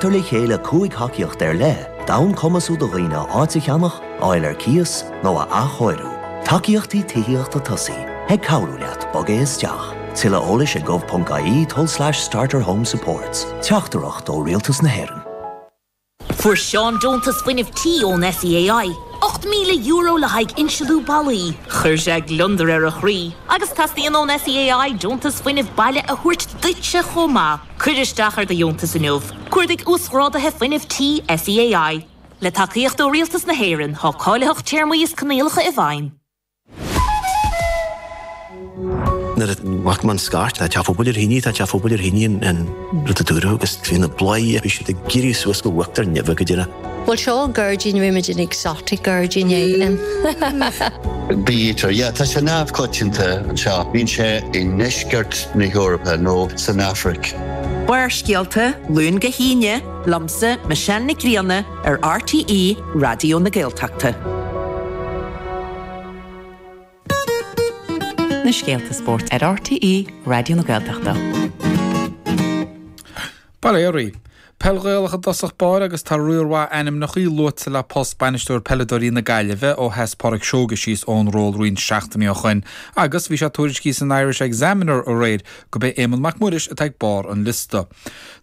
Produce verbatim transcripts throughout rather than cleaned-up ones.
Tar le chéile cúig thacaíocht ar leith, d'fhonn cumasú do dhaoine áit a cheannach, a fháil ar cíos nó a athchóiriú. Tacaíochtaí tithíochta tosaigh ag cabhrú leat bogadh isteach. Tuilleadh eolais ag gov.ie tulslais starter home supports. Teachtaireacht ó Rialtas na hÉireann. Fuair Seán deontas fuinnimh tí ón SEAI. Ocht míle euro le haghaidh inslithe ballaí. Chuir sé gliondar ar a chroí, agus teastaíonn ón SEAI deontas fuinnimh baile a thabhairt duitse chomh maith. Cuir isteach ar do dheontas inniu. Cuardaigh uasghráduithe fuinnimh tí SEAI. Le tacaíocht ó Rialtas na hÉireann tá cáilitheacht téarmaí is coinníollacha i bhfeidhm. Nuair a bhac man scairt tá teach pobail ar thine tá teach pobail ar thine an rud a dúradh agus bhí na bláthanna bhí siad ag éirí suas go huachtar neimhe go deireadh. Well seo gairdín rimid an exotic gairdín é. Bítear, yeah, tá sé neamhchoitianta anseo. Bíonn sé i ndeisceart na hEorpa nó san Afraic. Barrscéalta Luan go hAoine, liomsa Michelle Nic Grianna ar RTÉ Raidió na Gaeltachta. Na scéalta spóirt ar RTÉ Raidió na Gaeltachta. Bail ó Dhia oraibh. Peil Ghaelach i dtosach báire agus tá riar mhaith ainmneacha luaite le post bainisteoir peileadóirí na Gaillimhe ó sheas Pádraic Seoige síos ón ról roinnt seachtainí ó shin agus bhí sé tuairiscithe san Irish Examiner aréir gurb é Éamonn Mac Muiris atá ag barr an liosta.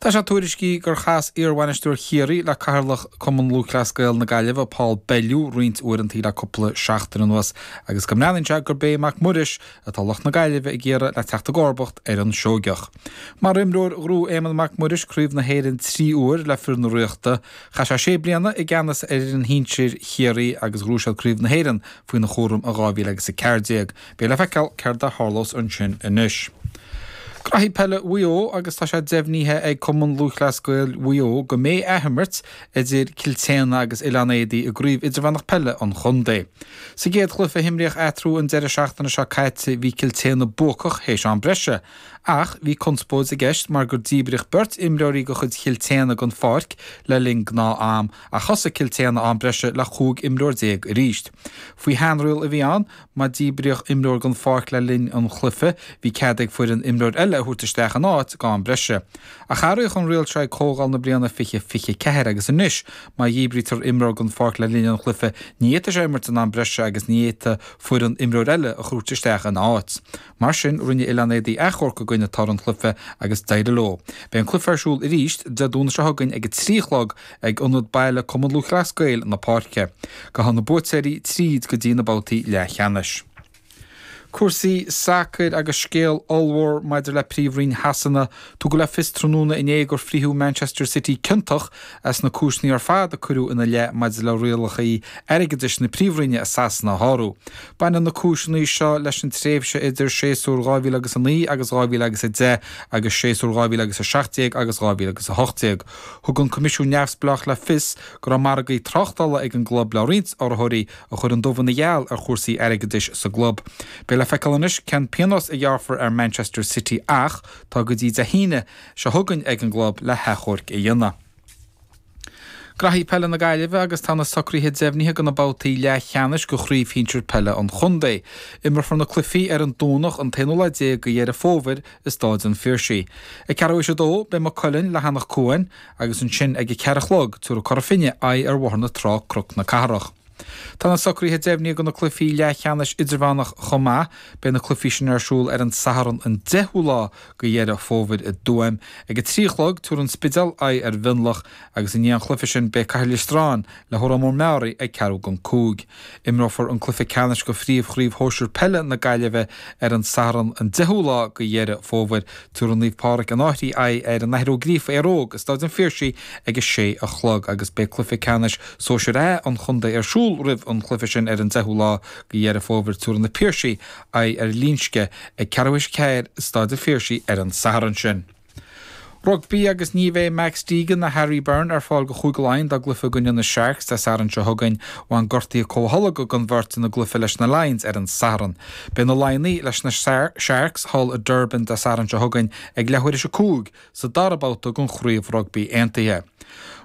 Tá sé tuairiscithe gur chas iarbhainisteoir Chiarraí le cathaoirleach Cumann Lúthchleas Gael na Gaillimhe Paul Bellew roinnt uaireanta le cúpla seachtain anuas agus go mbreathnaíonn sé gurb é Mac Muiris atá lucht na Gaillimhe ag iarraidh le teacht i gcomharbacht ar an Seoigeach. Mar imreoir ghnóthaigh Éamonn Mac Muiris Craobh na hÉireann trí uair le fir na Ríochta, chaith sé sé bliana i gceannas ar fhoireann shinsir Chiarraí agus ghnóthaigh siad Craobh na hÉireann faoina chúram i dhá mhíle agus a ceathair déag. Beidh le feiceáil céard a tharlós ansin anois. Graithí peile Mhaigh Eo agus tá sé deimhnithe ag Cumann Lúthchleas Gael Mhaigh Eo go mbeidh athimirt idir Cill tSéadhna agus Oileán Éadaí i gcraobh idirmheánach peile an chontae. Sa gcéad chluiche a himríodh eatarthu an deireadh seachtaine seo caite bhí Cill tSéadhna buacach théis am breise. Ach bhí conspóid i gceist mar gur díbríodh beirt imreoirí de chuid Chill tSéadhna den pháirc le linn gnáth-am ach thosaigh Cill tSéadhna am breise le chúig imreoir déag arís. Faoi sheanriail a bhí ann, má díbríodh imreoir den pháirc le linn an chluiche, bhí cead ag foireann imreoir eile a thabhairt isteach ina áit go am breise. Ach athraíodh an riail seo ag comhdháil na bliana fiche fiche ceathair agus anois má dhíbrítear imreoir den pháirc le linn an chluiche, ní fhéadfaidh sé imirt in am breise agus ní fhéadfaidh foireann imreoir eile a thabhairt isteach ina áit. Mar sin, rinne Oileán Éadaí achomharc i gcoinne toradh an chluiche agus d'éirigh leo. Beidh an cluiche ar siúl arís Dé Domhnaigh seo chugainn ag a trí a chlog ag Ionad Baile Cumann Lúthchleas Gael na Páirce. Gabhfaidh na buaiteoirí tríd go dtí na babhtaí leathcheannais. Cúrsaí sacair agus scéal ollmhór maidir le Príomhroinn Shasana. Tugadh le fios tráthnóna inné gur frítheadh Manchester City ciontach as na cúiseanna ar fad a cuireadh ina leith maidir le rialacha airgeadais na Príomhroinne i Sasana a shárú. Baineann na cúiseanna seo leis an tréimhse idir séasúr dhá mhíle agus a naoi agus dhá mhíle agus a deich agus séasúr dhá mhíle agus a seacht déag agus dhá mhíle agus a hocht déag. Thug an Coimisiún Neamhspleách le fios go raibh margaí tráchtála ag an gclub le roinnt urraitheoirí a chuir an dubh ina gheal ar chúrsaí airgeadais sa gclub. Beidh le feiceáil anois cén pionós a ghearrfar ar Manchester City ach tá go dtí Dé hAoine seo chugainn ag an gclub le hachomharc a dhéanamh. Graithí peile na Gaillimhe agus tá na socruithe deimhnithe do na babhtaí leathcheannais de chraobh shinsir peile an chontae. Imreofar na cluichí ar an Domhnach an t-aonú lá déag de Dheireadh Fómhair i Stáid an Phiarsaigh. Ag ceathrú théis a dó beidh Maigh Cuilinn le hEanach Cuain agus ansin ag a ceathair a chlog tabharfaidh Cora Finne aghaidh ar Bhóthar na Trá Cnoc na Cathrach. Tá na socruithe deimhnithe do na cluichí leathcheannais idirmheánach chomh maith. Beidh na cluichí sin ar siúl ar an Satharn an deichiú lá de Dheireadh Fómhair i dTuaim. Ag a trí a chlog, tabharfaidh an Spidéal aghaidh ar Mhionlach agus i ndiaidh an chluiche sin beidh Cathair Loistreáin le hÓrán Mór Meáraí ag ceathrú don cúig. Imreofar an cluiche ceannais de phríomhchraobh shóisir peile na Gaillimhe ar an Satharn an deichiú lá de Dheireadh Fómhair. Tabharfaidh Naomh Pádraig an Fhairche aghaidh ar an Athair Ó Gríofa Éire Óg i Stáid an Phiarsaigh ag a sé a chlog agus beidh cluiche ceannais sóisir A an chontae ar siúl roimh an chluiche sin ar an deichiú lá de Dheireadh Fómhair. Tabharfaidh na Piarsaigh aghaidh ar Linnsce ag ceathrú théis a ceathair i Stáid an Phiarsaigh ar an Satharn sin. Rugbaí agus ní bheidh Max Deegan ná Harry Byrne ar fáil do Chúige Laighean dá gcluiche i gcoinne na Sharks Dé Sathairn seo chugainn. Bhain gortuithe comhtholgtha don bheirt ina gcluiche leis na Lions ar an Satharn. Beidh na Laighnigh leis na Sharks thall i Durban Dé Sathairn seo chugainn ag leathuair théis a cúig sa dara babhta den Chraobh Rugbaí Aontaithe.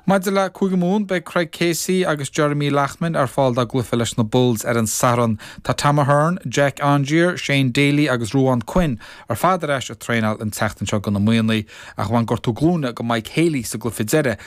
Maidir le Cúige Mumhan beidh Craig Casey agus Jeremy Loughman ar fáil dá gcluiche leis na Bulls ar an Satharn. Tá Tom Ahern, Jack Aungier, Shane Daly agus Ruadhán Quinn ar fad ar ais ag traenáil an tseachtain seo do na Muimhnigh ach bhain gortú glúine go Mike Haley sa gcluiche deiridh